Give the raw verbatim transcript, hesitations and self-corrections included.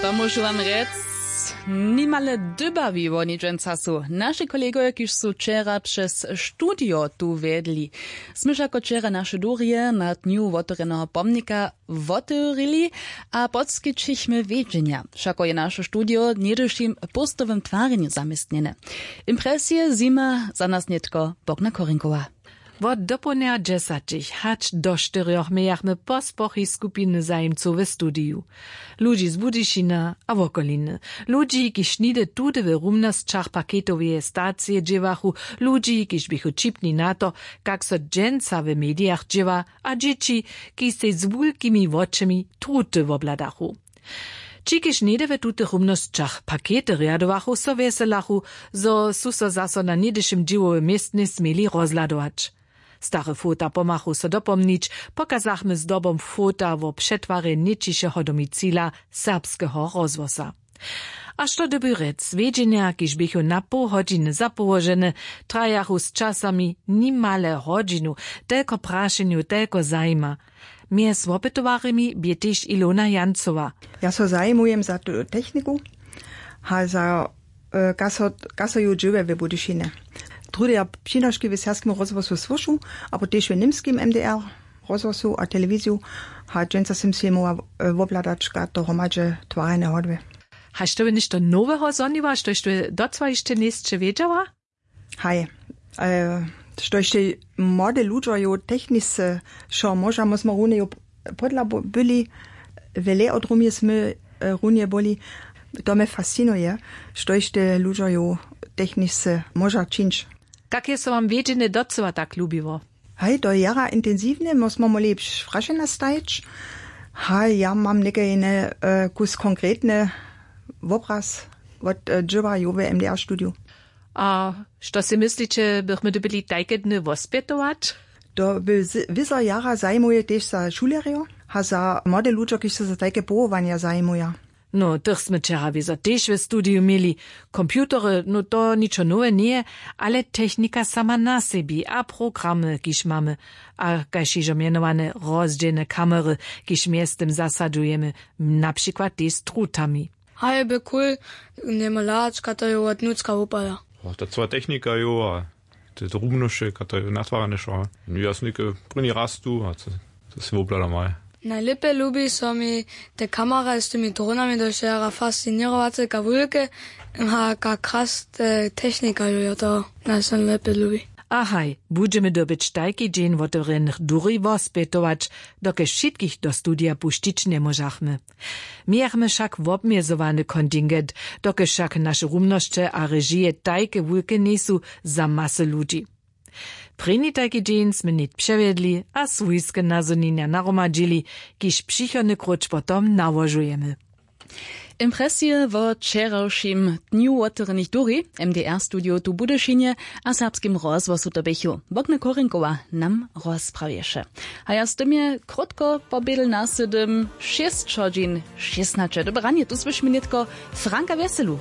To móžu wam rjec, nimale dybawi woni dźensa su naši kolegojo, kiž su wčera přez studio tu wjedli. Smy wšako wčera naše durje na dnju wotewrjeneho pomnika wotewrili a podskićichmy wědźenja. Wšako je naše studio w něhdyšim póstowym twarjenju zaměstnjene. Impresije zjima za nas nětko Bogna Korinkowa. Wot dopołdnja dźesaćich hač do štyrjoch mějachmy pospochi skupiny zajimcow w studiju. Ludźi z Budyšina a wokoliny. Ludźi, kiž nihdy tudy w rumnosćach paketoweje stacije dźěłachu. Ludźi, kiž běchu ćipni na to, kak so dźensa w medijach dźěła, a dźěći, kiž sej z wulkimi wočemi truty wobladachu. Ći, kiž něhdy w tutych rumnosćach pakety rjadowachu, so wjeselachu, zo su so zaso na něhdyšim dźěłowym městnje směli rozhladować. Stare fota pomhachu so dopomnić, pokazachmy zdobom fota wo přetwarje něčišeho domicila serbskeho rozhłosa. A što dyrbi rjec, wědźenja, kiž běchu na poł hodźiny zapołožene, trajachu z časami nimale hodźinu, telko prašenjow, telko zajima. Mjez wopytowarjemi bě tež Ilona Jancowa. Ja so zajimujem za tu techniku, a za kaso kaso ju dźěłe w Budyšinje. Trudy ja přinoški w serbskim rozhłosu słyšu, abo tež w němskim M D R rozhłosu a telewiziju. A dźensa sym sej móhła wobhladać, kaž to hromadźe twarjene hodwy. Haš to by něšto noweho zhoniła, štož ty docyła hišće njejsće wědźała? Haj, štož te młode ludźo jo technisce wšo móža mózmo runje jo, podla byli, wjele odrumje smy runje byli. To mje fascinuje, štož te ludźo jo technisce móža čińć. Kak je so wam wědźenje docyła tak lubiło? Haj, to je jara intensiwne, mózmo móhli prašenja stajić. Haj, ja mam někajne kus konkretne wobraz wot dźěła jowe M D R studiju. A što sej mysliće, bychmy dyrbili tajke dny wospjetować? To by wězo jara zajimuje tež za šulerjo a za młode ludźo, kiž so za tajke powołanja zajimuja. No, tych smy wčera wězo tež w studiju měli. Computery, no to ničo nowe njeje, ale technika sama na sebi a programy, kiž mamy, a kaž hižo mjenowane rozdźělne kamery, kiž mjeztym zasadźujemy, na přikład tež z trutami. Haj, by cool, njemóhł hladač, kaž to jo wot nutřka wupada. Ta cyła technika jo a te drobnosće, kaž to jo natwarjane wšo. Ja sym něke prěni raz tu a to sej wobhladam haj. Najlěpje lubi so mi te kamera z tymi dronami, to je jara fasciněrowace, kaž wulke a kaž kras te technika jo jo to najsonlěpje lubi. A haj, budźemy dyrbjeć tajki dźeń wotewrjenych duri wospjetować, dokelž wšitkich do studija pušćić njemóžachmy. Mějachmy wšak wobmjezowany kontingent, dokelž wšak naše rumnosće a režije tajke wulke njejsu za masy ludźi. Prěni tajki dźeń smy nětk přewjedli a swójske nazhonjenja nahromadźili, kiž přichodny króć potom nałožujemy. Impresije wo wčerawšim dnju wotewrjenych duri, M D R studio tu w Budyšinje a serbskim rozhłosu to běchu, Bogna Korinkowa nam rozprawješe. A ja z tym je krótko po bědel na sydym šěsć hodźin šěsnaće. Dobre ranje, tu słyšimy nětko Franka Wjeselu.